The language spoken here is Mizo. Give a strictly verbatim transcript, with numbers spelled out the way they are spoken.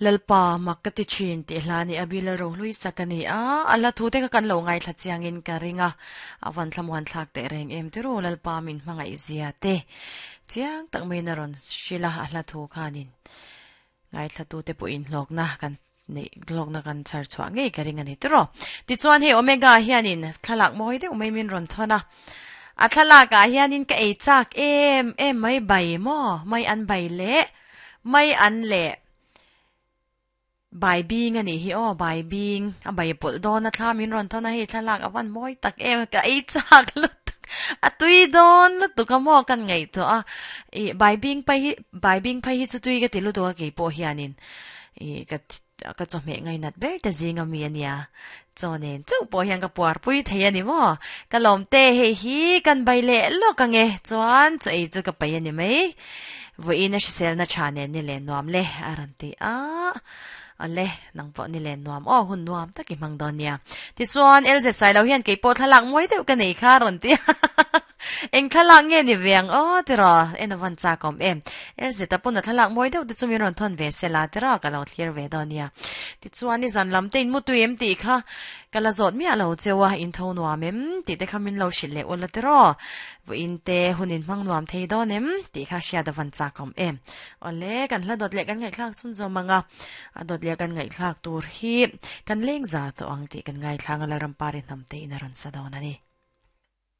Lalpa mak ka ti thin tih hla ni a bil a rohlui sak a ni a, a hla thu te kha kan lo ngaithla chiangin ka ring a, a van thlamuan thlak teh reng em tiraw Lalpa min hmangaih zia te chiang tak maiin a rawn hrilh a, a hla thu khanin ngaithla tu te pawhin hlawkna kan neih hlawkna kan chhar chhuah ngei ka ring a ni tiraw. Tichuan hei Omega hianin thlalak mawi deuh mai min rawn thawn a, a thlalakah hianin ka ei chak em em mai bai maw mai an bai leh mai an leh Bai bing a nih hi aw, bai bing a bai pawlh dawn a thla min rawn thawn a hei thlalak a van mawi tak em ka ei chak lutuk a tui dawn lutuk a maw kan ngaihtuah a ih bai bing phei hi bai bing phei hi chu tui ka ti lutuk a keipawh hianin ih ka ka chawhmeh ngainat ber te zing a mi a nia chaw nen chauh pawh hian ka puar pui thei a ni maw ka lawm te hei hi kan bai leh lawk ang e chuan chaw ei chu ka paih a ni mai. Vawiin a hriselna tha nen ni len nuam le a rawn ti a, awle nang pawh ni len nuam aw hun nuam tak i hmang dawn nia. Tichuan L Z Sailo hian kei pawh thlalak mawi deuh ka nei kha a rawn ti a, eng thlalak nge ni ve ang aw tiraw en a van chak awm em. L Z a pawn a thlalak mawi deuh te chu min rawn thawn ve sela tiraw ka lo thlir ve dawn nia. Tichuan ni zan lam te in mutui em tih kha ka la zawt miah lo cheu a, in tho nuam em tih te kha min lo hrilh leh ula tiraw. Vawiin te hun in hmang nuam thei dawn em tih kha hriat a van chak awm em. Awle, kan hla dawt leh kan ngaihthlak chhun zawm ang a, a dawt leh kan ngaihthlak tur hi kan leng za tawh ang tih kan ngaithlang a, Lalrampari hnam te in a rawn sa dawn a ni.